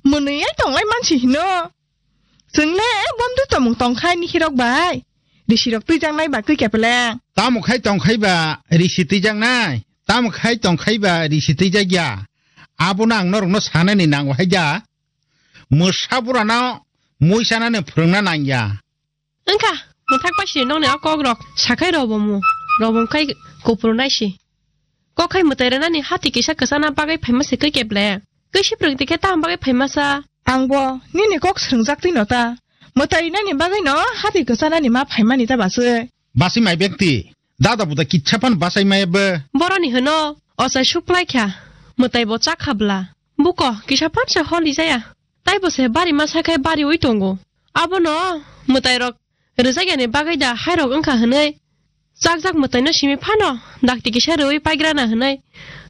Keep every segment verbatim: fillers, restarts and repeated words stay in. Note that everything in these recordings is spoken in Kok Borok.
Mwnwi ai tonglai mansi hino. Chwng le bondhu tongmung tongkhai ni hirok bai. Risi rok twijak nai ba kwi kepeleng. Tamo khai tongkhai ba risi twijak nai? Tamo khai tongkhai ba risi twijak ya? Abono ang norokno sanani nango hai da. Mwsa burano mui sanani phwrwngna nang ya. Wngkha, mwthak bai si nokni o kok rok sakhai robomu, robom khai kupru nai si. Kok khai mwtai rwnani hati kisa kwchana bagwi phaima se kwi keple. Kwi si phrwng tikhe tamo bagwi phaima sa. Angbo nini kok srwngjak twi no ta. Mwtai rinani bagwi no hati kwchanani ma phaimani ta baswi. Baswi mai bekti, dada buda kitsa phan basai maya bo. Boroni hwno, ochai suklai kha, mwtai bo chakha bla. Buko kisa phan se holi jaya. Taibo se bari ma sakhai bari ui tongo. Abono mwtai rok rwjakyani bagwi da hairok wngkha hwnwi chakjak mwtaino simi phano dakti kisa rwui paigrana hwnwi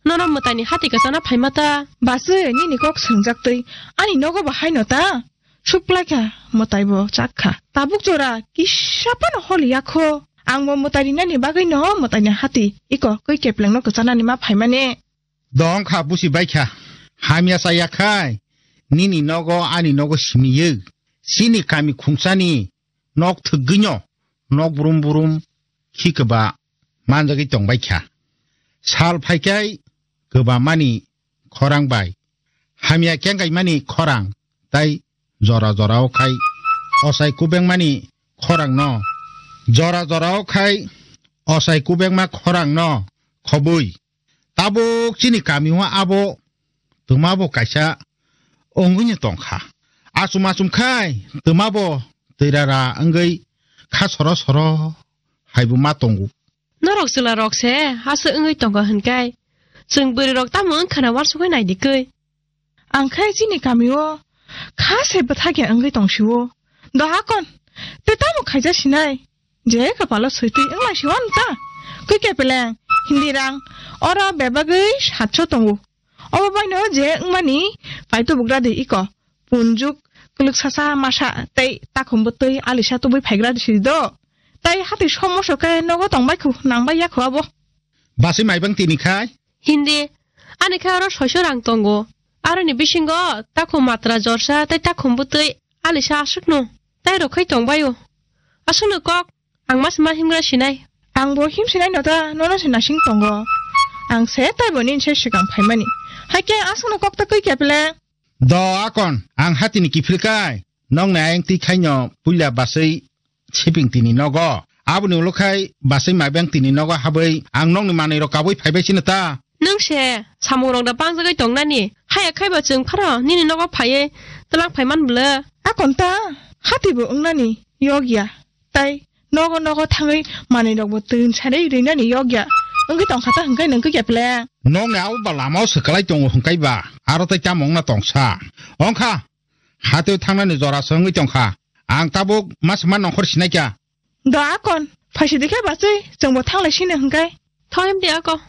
nono mwtaini hati kwchana phaima ta? Baswi nini kok swngjak twi ani nogo bo haino ta? Suklaikha mwtaibo chakha. Tabuk jora kisa phano holi yakho. Angbo mwtai rinani bagwino mwtaini hati iko kwi keplengno kwchanani ma phaimani. Dongkha busi baikha. Hamya chaya khai nini nogo ani nogo simiyo. Chini kami khungsani nok thwgwino nok brum brum khi kwba manjagwi tongbaikha. Sal phaikhai kwbamani khorang bai hamya kengkaimani khorang tai jora jorao khai osai kubengmani khorangno, jora jorao khai osai kubengma khorangno khobwi. Tabuk chini kamio abo twmabo kaisa wngwino tongkha. Achum achum khai twmabo twirara wngwi kha soro soro haibo ma tongo. Norok chwla rok se aswk wngwi tongo hwnkai chwng bwrwi rok tamo wngkhana uansukwi naidi kwi. Ang khai chini kamio kha se bwthakya wngwi tongsio. Do hakon, tei tamo khaija sinai? Je kapalo soitwi wnglai siwan ta. Kwi kepeleng, hindi rang, oro bebagwi satso tongo. Obo baino je wngmani paito bugra de iko. Punjuk, kwlwk sasa masa tei takhumbo twi alisa tubui phaigra de sidi do. Tai hati somoso khe nogo tongbai khu, nangbai ya khu abo. Baswi maibang tini khai? Hindi, ani khe oro soiso rang tongo. Aroni bisingo takhum matra jorsa tei takhum bwtwi alisa aswkno tai rwkhai tongbaio. Aswkno kok, ang mas ma himgra sinai. Angbo him sinai no ta, nono se nasing tongo. Ang se taibo nini se swkang phaimani. Haikhe aswkno kok ta kwi kepele. Do akon, ang hatini kiphilkai. Nokni ayang twi khaino puila baswi siping tini nogo. Aboni ulo khai baswi maibang tini nogo habwi ang nokni manwi rok kabui phaibai sino ta. Nwng se samung rok da pangjagwi tongnani. Haya khaiba chwng phano nini nogo phaiwi twlang phaiman bwle. Akon ta hatibo wngnani yogya. Tai nogo nogo thangwi manwi rokbo twi sarai rinani yogya. Wngwi tongkha ta hwnkhe nwng khe keple. Nokni abo ba lamao swkalai tongo hwnkhe ba. Aro tai tamo wngna tongsa. Ongkha. Hatwi thangnani jora se wngwi tongkha. Ang tabuk ma se ma nongkhor sinai kha. Do akon, phaisi dikhe bachwi, chwngbo thanglai sini hwnkhe. Thoim di ako.